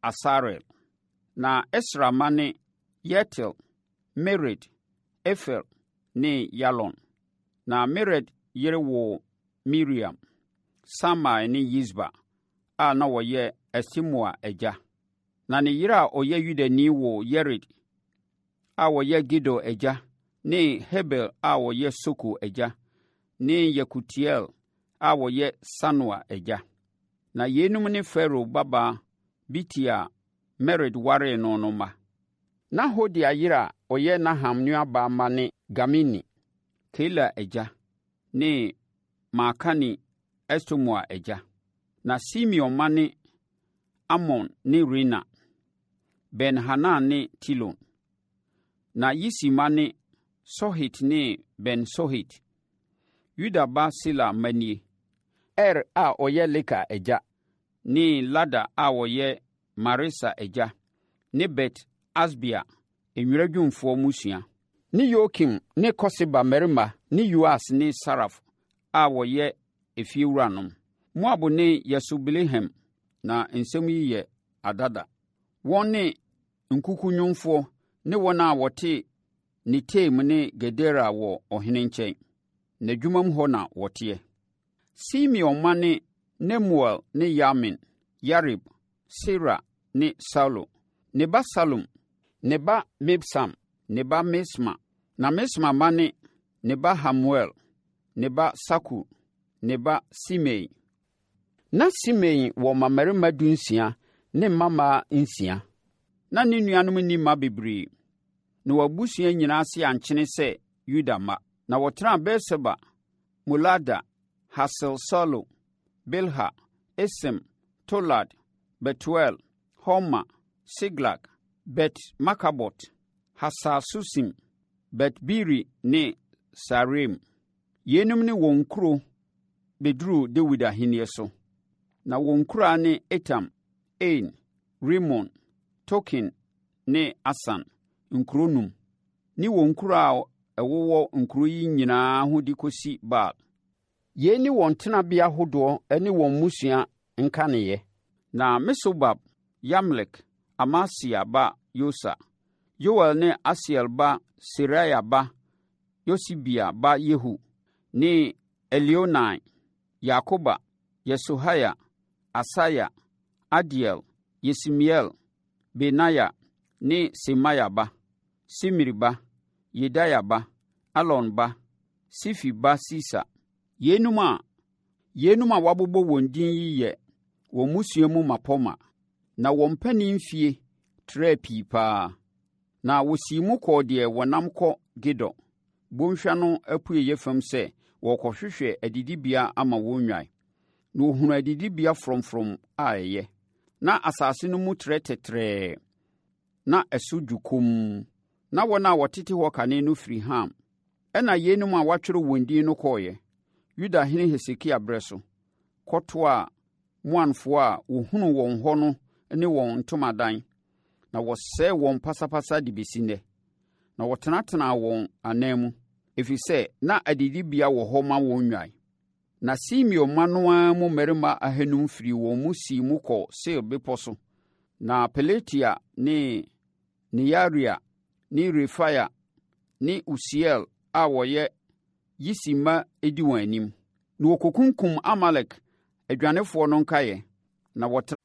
Asarel. Na Esra mma ne Yeter, Mered, Efer ne Yalon. Na Mered yere woo Miriam, Samai ne Yisba a na wɔyɛ Estemoa agya. Na ne yere a ɔyɛ Yudani woo Yered a ɔyɛ Gedor agya ne Heber a ɔyɛ Soko agya ne Yekutiel a ɔyɛ Sanoa agya. Na yeinom ne Farao babaa Bitia a Mered waree no no mma. Na Hodia yere a ɔyɛ Naham nuabaa mma ne Garmini, Keila agya, ne Maakani Estemoa agya. Na Simeon mma ne Amnon ne Rina, Ben-Hanan ne Tilon. Na Yisi mma ne Sohet ne Ben-Sohet. Yuda ba Sela mma nie: Er a ɔyɛ Leka agya, ne Lada a ɔyɛ Maresa agya, ne Bet-Asbea, nwera dwumfoɔ mmusua, ne Yokim ne Koseba mmarima ne Yoas ne Saraf a wɔyɛ efiewuranom. Moab ne Yasubi-Lehem Na nsɛm yi yɛ adada. Wɔn ne nkukunwomfoɔ ne wɔn a wɔte Netaim ne Gedera wɔ ɔhene nkyɛn. N'adwumam hɔ na wɔteɛ. Simeon mma ne Nemuel ne Yamin, Yarib, Sera ne Saulo. Ne ba Salum, ne ba Mibsam, ne ba Misma. Na Misma mma ne: Ne ba Hamuel, ne ba Sakur, ne ba Simei. Na Simei wɔ mmammarima dunsia ne mmammaa nsia. Na ne nuanom nni mma bebree, na wɔn abusua nyinaa ase ankyene sɛ Yuda mma. Na wɔtenaa Beer-Seba, Molada, Hasar-Saulo, Bilha, Esem, Tolad, Betuel, Horma, Siklag, Bet-Markabot, Hasar-Susim, Bet-Biri ne Saaraim. Yeinom ne wɔn nkuro bɛduruu Dawid ahennie so. Na wɔn nkuraa ne Etam, Ain, Rimon, Token ne Asan, nkuro num, ne wɔn nkuraa a ɛwowɔ nkuro yi nyinaa ho de kɔsi Baal. Yei ne wɔn tenabea ahodoɔ ne wɔn mmusua nkaneeɛ. Na Mesobab, Yamlek, Amasia ba Yosa, Yoel ne Asiel ba Seraia ba Yosibia ba Yehu ne Elioenai, Yaakoba, Yesohaia, Asaia, Adiel, Yesimiel, Benaia ne Semaia ba, Simri ba, Yedaia ba, Alon ba, Sifi ba Sisa. Yeinom a yeinom a wɔabobɔ wɔn din yi yɛ wɔn mmusua mu mmapɔmma, na wɔn mpanin mfeɛ trɛɛ pii pa ara. Na wɔsii mu kɔɔ deɛ wɔnam kɔ Gedor bɔnhwa no apueeɛ fam sɛ wɔrekɔhwehwɛ adidibea ama wɔn nnwan. Na wɔhunuu adidibea frɔmfrɔm a ɛyɛ. Na asase no mu trɛ tɛtrɛɛ, na ɛso dwo komm. Na wɔn a wɔtete hɔ kane no firi Ham. Ɛnna yeinom a wɔatwerɛ wɔn din no kɔeɛ, Yudahene Hesekia berɛ so, kɔtoaa Moanfoɔ a wɔhunuu wɔn hɔ no ne wɔn ntomadan, na wɔsɛee wɔn pasapasa de bɛsi nnɛ. Na wɔtenatenaa wɔn anan mu, ɛfiri sɛ na adidibea wɔ hɔ ma wɔn nnwan. Na Simeon mma no ara mu mmarima ahanum firii wɔn mu sii mu kɔɔ Seir bepɔ so. Na Pelatia ne Nearia ne Refaia ne Usiel a wɔyɛ Yisi mma di wɔn anim. Na wɔkɔkunkumm Amalek adwanefoɔ no nkaeɛ, na wɔtra.